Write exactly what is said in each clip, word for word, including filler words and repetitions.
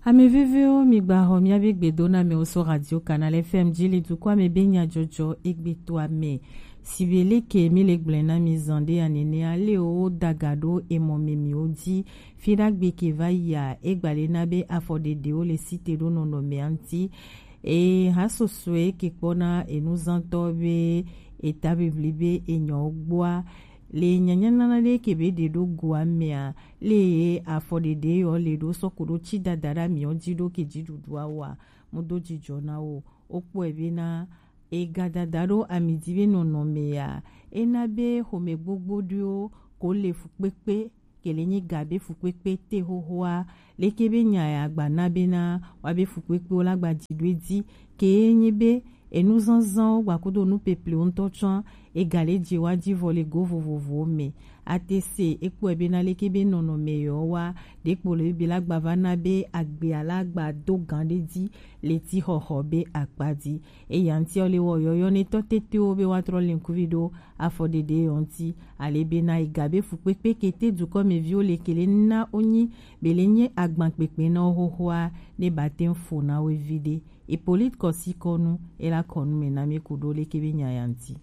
Ame vevewo, mi gba xɔ miabe gbedoname wo so Radio Canal F M ji le dukɔa me be nyajɔjɔ egbe to ame. Sibe leke mi le gblɔe na mi zan ɖe anene ale wo daga ɖo emɔ me mi wo ji. Fi ɖagbe ke va yia, e gba le na be afɔɖeɖewo le site ɖo nɔnɔmea ŋuti. E ha sosoe ke kpɔna enuzantɔ be eta bibli be enyɔ gbɔa. Le nyanyanana ɖe ke be ɖe ɖo goa mea, le afɔɖeɖe yɔ le ɖo sɔku ɖo ci dada ɖa miɔ ji ɖo ke ji ɖuɖua wa, mu do jijɔ na wo. O kpɔe be na ega dada ɖo ami ji be nɔnɔme ya, e na be xome gbogbo ɖewo ko le fukpekpe, ke le nyi ga be fukpekpe te xoxoa, leke be nya ya gba na be na wa be fukpekpewo la gba ji ɖo edzi, ke ye nyi be enuzanzanwo gbakudo nupeplewo ŋutɔ tsɔa, ega le je wa ji vɔ le go vovovowo me. Ate se e kpɔe be na leke be nɔnɔme yɔ wa, ɖekpo le be la gba va na be agbea la gba do gan ɖe ji le ti xɔxɔ be akpa ji. Eya ŋuti ɔ le wɔ yɔyɔ ne tɔ tetewo be wa trɔ le ŋkuvi ɖo afɔɖeɖe yɔ ŋuti, ale be na ega be fukpekpe ke te dukɔmeviwo le ke le na wo nyi be le nye agban kpekpe na wo xoxoa, ne ba te ŋ fo na wo vi ɖe. Hippolyte Kɔsikɔnu, e la kɔnu me na mi ku ɖo leke be nya ya ŋuti.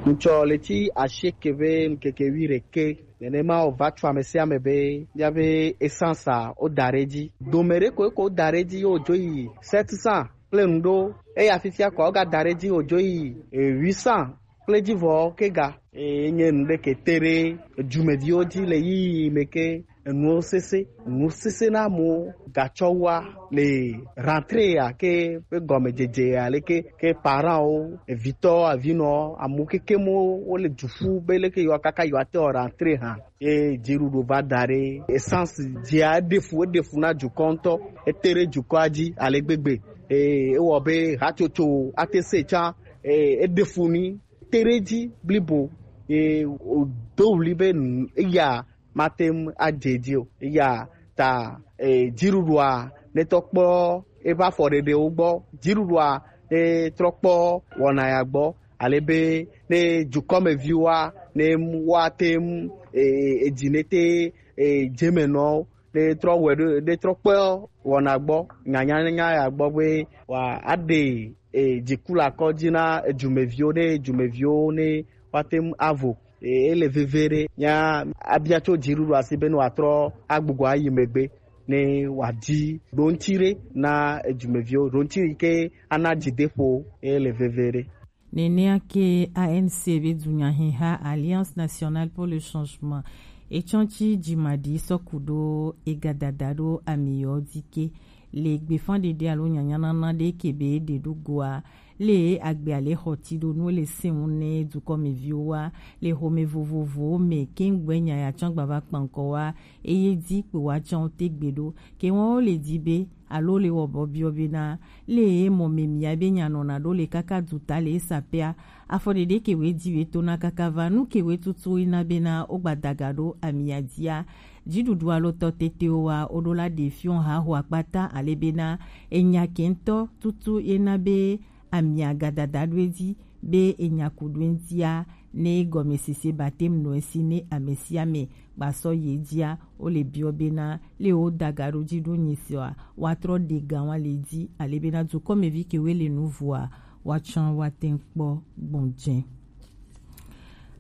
Ŋtsɔ le ti asieke be ŋkeke wi ɖeke nenema o va tso ame sia ame be bia be essence a o da ɖe dzi. Dome ɖe ko ko da ɖe dzi yo dzo yi sept cents kple nu ɖo. Eya fifia kɔ o ga da ɖe dzi o dzo yi huit cents kple dzi vɔ ke ga. Eye nye nu ɖe ke te ɖe edumeviwo dzi le yiyi me ke enuwo sese, nu sese na amewo gatsɔ wa le rentrée ya ke ƒe gɔmedzedze ya leke ke parents wo, evitɔ, avinɔ, amewo kekem wo le du ƒu be leke yewoa kaka yewoate wɔ rentrée hã. Ye dziɖuɖu va da ɖe essence dzia eɖe fu, eɖe fu na dukɔ ŋutɔ, ete ɖe dukɔa dzi ale gbegbe. Eye ewɔ be hatsotso ate se tsã, eye eɖe fu ni te ɖe edzi blibo, ye wòdo ɣli be nu-, eya mate ŋu adze edzi o. Eya ta, e, dziɖuɖua ne tɔ kpɔ eƒe afɔɖeɖewo gbɔ, dziɖuɖua ne trɔ kpɔ wɔna ya gbɔ, ale be ne dukɔmeviwoa ne woate ŋu, e, e, edzi ne te, e, dzemenɔwo ne trɔ wɔe ɖo, ne trɔ kpɔ wɔna gbɔ, nyanyanya ya gbɔ be wa aɖe, e, dziku le akɔ dzi na edumeviwo, ne edumeviwo ne woate ŋu avo. E, ele veve ɖe. Nya abia tso dziɖuɖu asi be ne wòatrɔ agbugbɔ ayi megbe, ne wòadi ɖoŋtsi ɖe na edumeviwo, ɖoŋtsi yi ke ana dzideƒo, ele veve ɖe. Nenea ke A N C be dunyahiha Alliance Nationale pour le Changement etsɔ tsi dzimaɖi sɔku ɖo egadada ɖo amiyɔ dzi ke le gbefãɖeɖe alo nyanyanana ɖe ke be ɖe ɖo goa, le agbe ale xɔ ti ɖo nu le sɛnwu ne dukɔmeviwo wa le xɔme vovovowo me keŋgbɛ nya ya tsɔ gbava kpankɔ wa, eye dzi kpo wa tsɔ te gbe ɖo ke wɔn wo le di be alo le wɔ bɔ biɔ be na le ye mɔ me mia be nya nɔna ɖo le kaka du ta le esa pea, afɔ ɖeɖe ke we di we to na kaka va nu ke we tutu ina be na wo gba daga ɖo amia dia. Dziɖuɖu alo tɔ tetewo wa wo ɖo la ɖe fiɔ ha ho akpata ale be na enya ke ŋutɔ tutu ye na be amia gadada ɖo edzi be enya ku ɖo eŋutia ne gɔmesese batem nɔ esi ne ame sia ame gbasɔ ye dzia, wo le biɔ be na le wo daga ɖo dzi ɖo nyi sia wa trɔ ɖe ga wa le dzi ale be na dukɔmevi ke we le nu vua wa tsã wa te ŋu kpɔ gbɔn dze.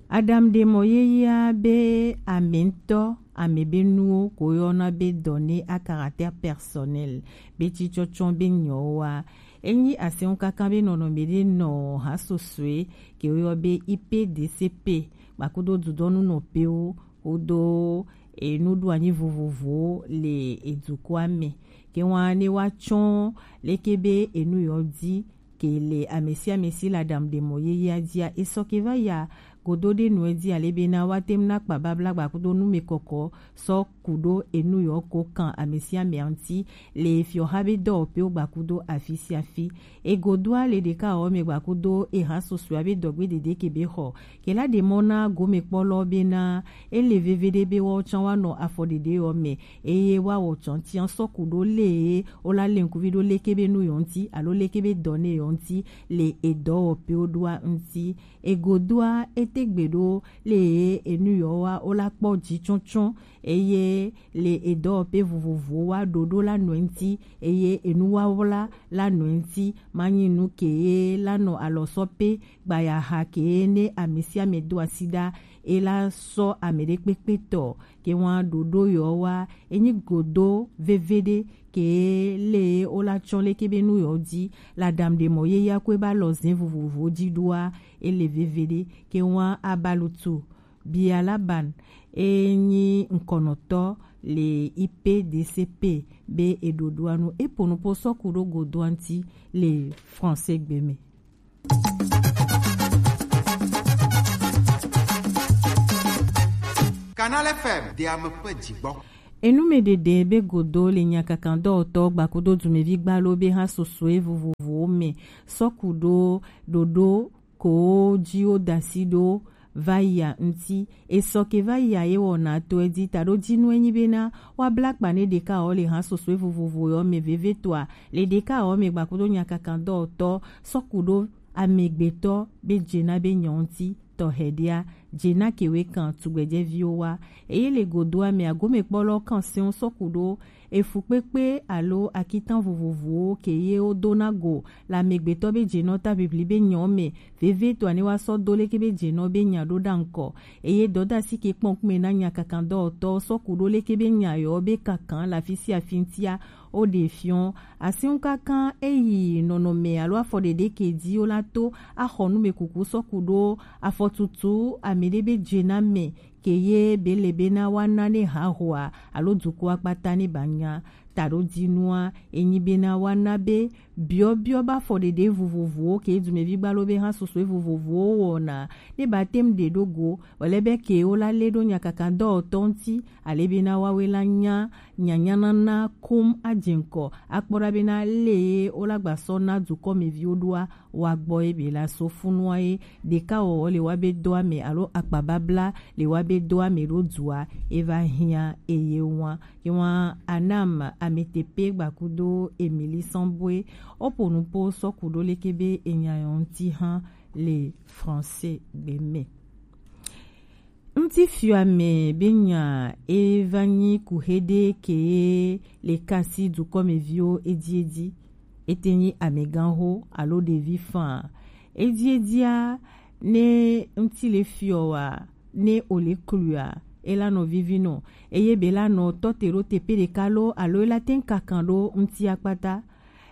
Adam ɖe mɔ yeyea be ame ŋutɔ ame be nuwo ko yɔna be données à caractère personnel be tsitsɔtsɔ be nyɔwoa, enyi asɛnwo kaka be nɔnɔme ɖe nɔ ha sosoe ke woyɔ be I P D C P gbakudo dudɔnu nɔpewo kudo enuɖoanyi vovovowo le edukɔa me. Ke wa ne wa tsɔ leke be enu yɔ di ke le ame sia ame si le aɖaŋuɖemɔ yeyea dzia, esɔ ke va yia godo ɖe nu edzi ale be na woate ŋu nakpa babla gbakudo numekɔkɔ sɔ ku ɖo enu yɔ ko kan ame sia amea ŋuti le fiɔha be dɔwɔƒewo gbakudo afi sia afi. Egodoa le ɖeka wɔ me gbakudo eha susua be dɔgbe dede ke be xɔ ke la ɖe mɔ na gomekpɔlɔ be na ele veve ɖe be woawo tsã woanɔ afɔɖeɖe yɔ me eye woawɔ tsɔtia sɔ ku ɖo le wo la le ŋkuvi ɖo leke be nu yɔ ŋuti alo leke be dɔ ne yɔ ŋuti le edɔwɔƒewo ɖoa ŋuti. Egodoa ete gbe ɖo le enu yɔ wa wo la kpɔ dzi tsɔtsɔ eye le edɔwɔpe vovovowo wa ɖoɖo la nɔe ŋti, eye enuwawla la nɔe ŋti, manyi nu ke ye la nɔ alɔsɔ pe gbayaha ke ye ne ame sia ame do asi ɖa, e la sɔ ame ɖe kpekpe tɔ ke wa ɖoɖo yɔ wa, enyi godo veveɖe ke le wo la tsɔ leke be nu yɔ di la dam ɖe mɔ ye ya kwe ba lɔ zɛn vovovo di ɖoa, ele veveɖe ke wa abalutu Bialaban e nyi ŋkɔnɔtɔ le I P D C P be eɖoɖoa nu e po nupo sɔku ɖo godoa ŋti le français gbe me. Canal F M de ame ƒe dzigbɔ. Enumeɖeɖe be godo le nyakakan dɔwɔtɔ gbakudo dumevi gbalo be ha sosoe vovovowo me sɔku ɖo ɖoɖo ko ji wo dasi ɖo va yia ŋti. Esɔ ke va yia ye wɔna to edi taɖo dinu enyi bena wa bla kpa ne ɖeka wɔ le ha sosoe vovovo yɔ me veve toa le ɖeka wɔ me gbakudo nyakakan dɔwɔtɔ sɔku ɖo amegbetɔ be dze na be nyɔ ŋti tɔ hɛɖia dze na kewe kan tugbɛjɛviwo wa. Eye le godoa me agomekpɔlɔ kan seŋ sɔku ɖo efu kpekpe alo akitan vovovowo ke ye wo do na go le amegbetɔ be dze nɔ ta bibli be nyɔ me veve to ane wa sɔ do leke be dze nɔ be nya ɖo ɖa ŋkɔ. Eye dɔdasi ke kpɔn kume na nyakakan dɔwɔtɔ sɔku ɖo leke be nya yɔ be kankan le afi sia afi ŋtia wo ɖe fiɔ. Asiŋ kaka eyi nɔnɔme alo afɔ ɖeɖe ke di wo la to axɔ nume kuku sɔku ɖo afɔtutu ame ɖe be dze na me ke ye be le bena wa na ne hahoa alo dukɔa kpata ne ba nya taɖo dinua enyi bena wa na be biɔbiɔ ba fɔ ɖeɖe vovovowo ke dumevi gbalo be ha sosoe vovovowo wɔna ne ba tem ɖe ɖo go wòle be ke wo la le ɖo nyakaka dɔwɔtɔ ŋti ale bena wawe la nya nyanyanana kum adze ŋkɔ akpɔ ɖa bena le wo la gba sɔ na dukɔmeviwo ɖoa wa gbɔ ye be la so funua ye ɖeka wɔwɔ le wa be dɔa me alo akpababla le wa be dɔa me ɖo dua e va hiã eye wa. Ke wa Anam Ametepe gbakudo Emily Sambwe o po nupo sɔku ɖo leke be enya yɔ ŋti hã le français gbe me. Ŋtifiame be nya e va nyi kuxe ɖe ke le kasi dukɔmeviwo ediedi. Ete nyi ameganxo alo ɖevi faa. Ediedia ne ŋti le fiɔ wa ne o le klua e la nɔ vivi nɔ eye be la nɔ tɔ te ɖo teƒe ɖeka lo alo e la te ŋu kakan ɖo ŋti akpata.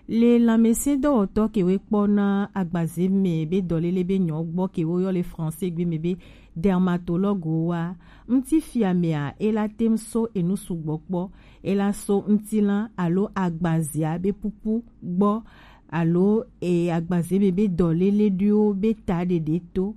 Le lãmesẽdɔwɔtɔ kewo kpɔna agbaze me be dɔlele be nyɔ gbɔ kewo yɔ le français gbe me be dermatologue wa. Ŋtifiamea e la tem so enu sugbɔ kpɔ. E la so ŋtilã alo agbazea be pupu gbɔ alo e agbaze me be dɔlele ɖoewo be ta ɖeɖe to.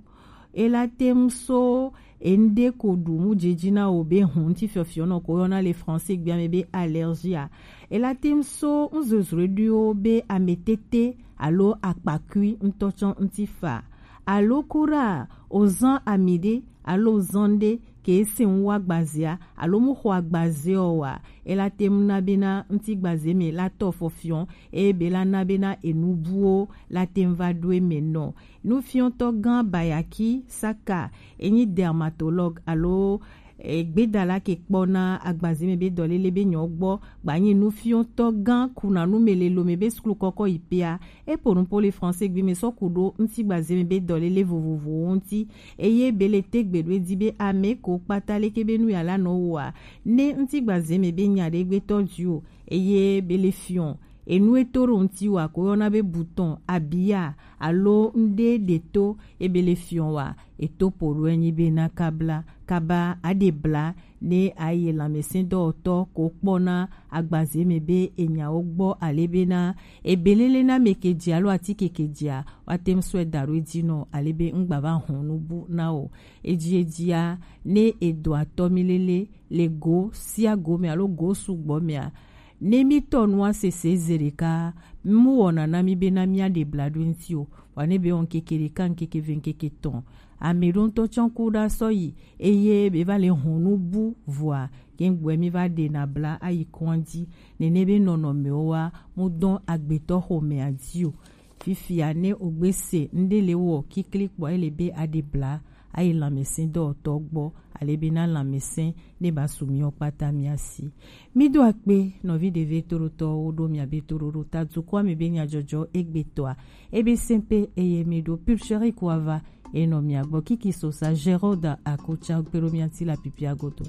E la tem so enuɖe ko ɖu mu dzedzi na wo be hun ŋti fiɔfiɔ nɔ ko yɔna le français gbea me be allergie a. E la tem so nuzozroe ɖoewo be ametete alo akpakui ŋutɔ tsɔ ŋti fa. Alo kura o zan ami ɖe alo zan ɖe ke se ŋu wa gbazea alo mu xɔ agbaze ɔ wa. E la tem na bena ŋti gbaze me la tɔ fɔfiɔ eye be la na bena enubuwo la tem va ɖo eme nɔ. Nufiɔtɔ gã Bayaki Saka enyi dermatologue alo e, gbedala ke kpɔna agbaze me be dɔlele be nyɔ gbɔ gbanyi nufiɔtɔ gã kuna nu me le lome be suklu kɔkɔ yi pea. E po nupo le français gbe me sɔ ku ɖo ŋti gbaze me be dɔlele vovovowo ŋti eye be le te gbe ɖo edi be ame ko kpata leke be nu ya la nɔ woa ne ŋti gbaze me be nya ɖe gbetɔ dzi o eye be le fiɔ enu e to ɖo ŋti wa ko yɔna be butɔn abia alo ŋɖe ɖe to ebe le fiɔ wa eto po ɖo enyi be na kabla kaba aɖe bla ne aye lãmesẽdɔwɔtɔ ko kpɔna agbaze me be enyawo gbɔ ale bena ebelele na me ke dzi alo atike ke dzia woate ŋu sɔe da ɖo edzi nɔ ale be ŋgba va hɔn nubu na o. Edzi edzia ne edo atɔ mi lele le go sia go me alo go sugbɔ mea ne mi tɔ nua sese ze ɖeka mu wɔna na mi bena mia ɖe bla ɖo ŋti o wa ne be wɔ ŋkeke ɖeka ŋkeke ve ŋkeke tɔn ame ɖo ŋutɔ tsɔ ku ɖa sɔ yi eye be va le hɔn nu bu vɔa ke ŋgbɔe mi va ɖe na bla ayi kɔn dzi nene be nɔnɔmewo wa mu dɔn agbetɔ xomea dzi o. Fifia ne ogbe se ŋɖe le wɔ kikli kpɔ ele be aɖe bla ayi lanmɛsɛn dɔwɔtɔ gbɔ, ale be na lanmɛsɛn ne ba su miɔ kpata mia si. Mi do akpe nɔvi ɖeve toɖotɔwo ɖo mia be toɖoɖo ta dukɔa me be nyadzɔdzɔ egbetɔa ebe sɛnpe eye mi ɖo pulcheri kuava enɔ mia gbɔ kiki sosa Gerald Akocha kpe ɖo mia ti la pipia godo.